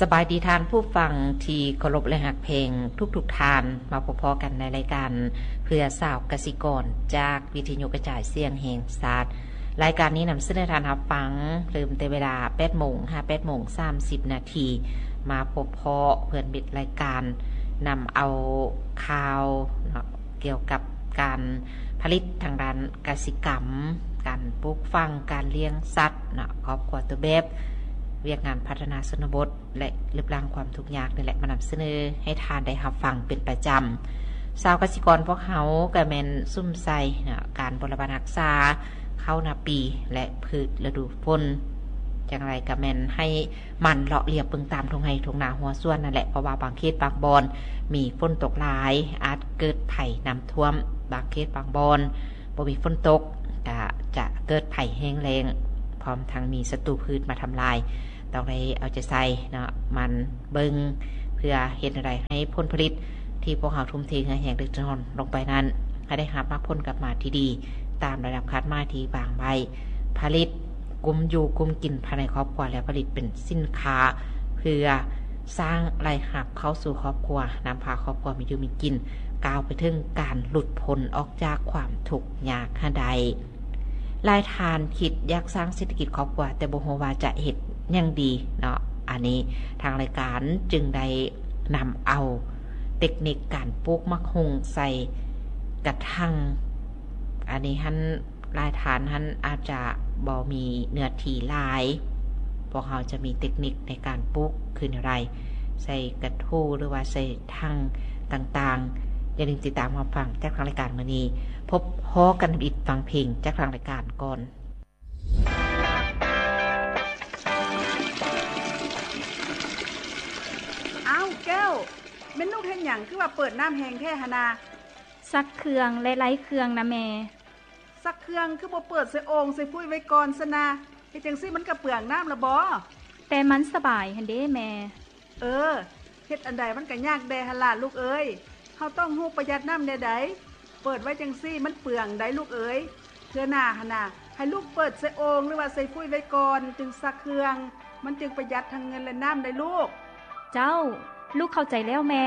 ສະບາຍດີທ່ານຜູ້ຟັງທີ່ເຄົາລົບ ແລະ ຮັກແພງທຸກໆທ່ານ. ມາພົບພໍ້ກັນໃນລາຍການເພື່ອຊາວກະສິກອນ ຈາກວິທະຍຸກະຈາຍສຽງແຫ່ງຊາດ. ລາຍການນີ້ນຳສະເໜີທ່ານຮັບຟັງ ເລີ່ມແຕ່ເວລາແປດໂມງຫາແປດໂມງສາມສິບນາທີ. ມາພົບພໍ້ເພື່ອນມິດລາຍການ ນຳເອົາຂ່າວເນາະ ກ່ຽວກັບການຜະລິດທາງດ້ານກະສິກຳ, ການປູກຝັງ, ການລ້ຽງສັດເນາະ, ຄອບຄົວຕົວແບບ, ວຽກງານພັດທະນາຊົນນະບົດ ແລະ ລຶບລ້າງຄວາມທຸກຍາກນີ້ແຫຼະ ມານຳສະເໜີໃຫ້ທ່ານໄດ້ຮັບຟັງເປັນປະຈຳ. ຊາວກະສິກອນພວກເຮົາກະແມ່ນສຸມໃສ່ເນາະ ການບົວລະບັດຮັກສາເຂົ້ານາປີ ແລະ ພືດລະດູຝົນ. ຈັ່ງໃດກະແມ່ນໃຫ້ ໝັ່ນເລາະລຽບເບິ່ງຕາມທົ່ງໄຮ່ທົ່ງນາຮົ້ວສວນນັ້ນແຫຼະ, ເພາະວ່າບາງເຂດບາງບ່ອນມີຝົນຕົກຫຼາຍ ອາດເກີດໄພນ້ຳຖ້ວມ, ບາງເຂດບາງບ່ອນບໍ່ມີຝົນຕົກ ກະຈະເກີດໄພແຫ້ງແລ້ງ ພ້ອມທັງມີສັດຕູພືດມາທຳລາຍ. ຕ້ອງໄດ້ເອົາໃຈໃສ່ເນາະ, ໝັ່ນເບິ່ງ ເພື່ອເຮັດແນວໃດໃຫ້ຜົນຜະລິດທີ່ພວກເຮົາທຸ່ມເທເຫື່ອແຮງເດັກຈະນອນລົງໄປນັ້ນ ໃຫ້ໄດ້ຮັບໝາກຜົນກັບມາທີ່ດີ ຕາມລະດັບຄາດໝາຍທີ່ວາງໄວ້, ຜະລິດ ກຸ້ມຢູ່ກຸ້ມກິນພາຍໃນຄອບຄົວ ແລະ ຜະລິດເປັນສິນຄ້າ ເພື່ອສ້າງລາຍຮັບເຂົ້າສູ່ຄອບຄົວ, ນຳພາຄອບຄົວມີຢູ່ມີກິນ ກ້າວໄປເຖິງການຫຼຸດພົ້ນອອກຈາກຄວາມທຸກຍາກໃຫ້ໄດ້. ຫຼາຍທ່ານຄິດຢາກສ້າງເສດຖະກິດຄອບຄົວ ແຕ່ບໍ່ຮູ້ວ່າຈະເຮັດຫຍັງດີເນາະ. ອັນນີ້ທາງລາຍການຈຶ່ງໄດ້ນຳເອົາເຕັກນິກການປູກໝາກຫຸ່ງໃສ່ກະຖາງ. ອັນນີ້ຫັ້ນ ຫຼາຍທ່ານຫັ້ນອາດຈະບໍ່ມີເນື້ອທີ່ຫຼາຍ, ພວກເຮົາຈະມີເຕັກນິກໃນການປູກຄືແນວໃດ ໃສ່ກະຖູ ຫຼືວ່າໃສ່ຖັງຕ່າງໆ. ຢ່າລືມຕິດຕາມຮັບຟັງຈາກທາງລາຍການມື້ນີ້. ພົບພໍ້ກັນນຳອິດຟັງເພງຈາກທາງລາຍການກ່ອນ. ອ້າວ ແກ້ວ, ແມ່ນລູກເຮັດຫຍັງ ຄືວ່າເປີດນ້ຳແຮງແທ້ຫັ້ນນາ? ຊັກເຄື່ອງ ແລະ ໄລ່ເຄື່ອງນະແມ່. ຊັກເຄື່ອງຄືບໍ່ເປີດໃສ່ໂອ່ງໃສ່ຟຸ້ຍໄວ້ກ່ອນຊັ້ນນະ? ເຮັດຈັ່ງຊີ້ມັນກະເປືອງນ້ຳລະບໍ? ແຕ່ມັນສະບາຍຫັ້ນເດ້ແມ່. ເອີ, ເຮັດອັນໃດມັນກະຍາກແດ່ຫັ້ນລະລູກເອີຍ. ເຮົາຕ້ອງຮູ້ປະຢັດນ້ຳແນວໃດ. ເປີດໄວ້ຈັ່ງຊີ້ມັນເປືອງໃດ໋ລູກເອີຍ. ເທື່ອໜ້າຫັ້ນນະ, ໃຫ້ລູກເປີດໃສ່ໂອ່ງ ຫຼືວ່າໃສ່ຟຸ້ຍໄວ້ກ່ອນ ຈຶ່ງຊັກເຄື່ອງ. ມັນຈຶ່ງປະຢັດທັງເງິນ ແລະ ນ້ຳໄດ໋ລູກ. ເຈົ້າ, ລູກເຂົ້າໃຈແລ້ວແມ່.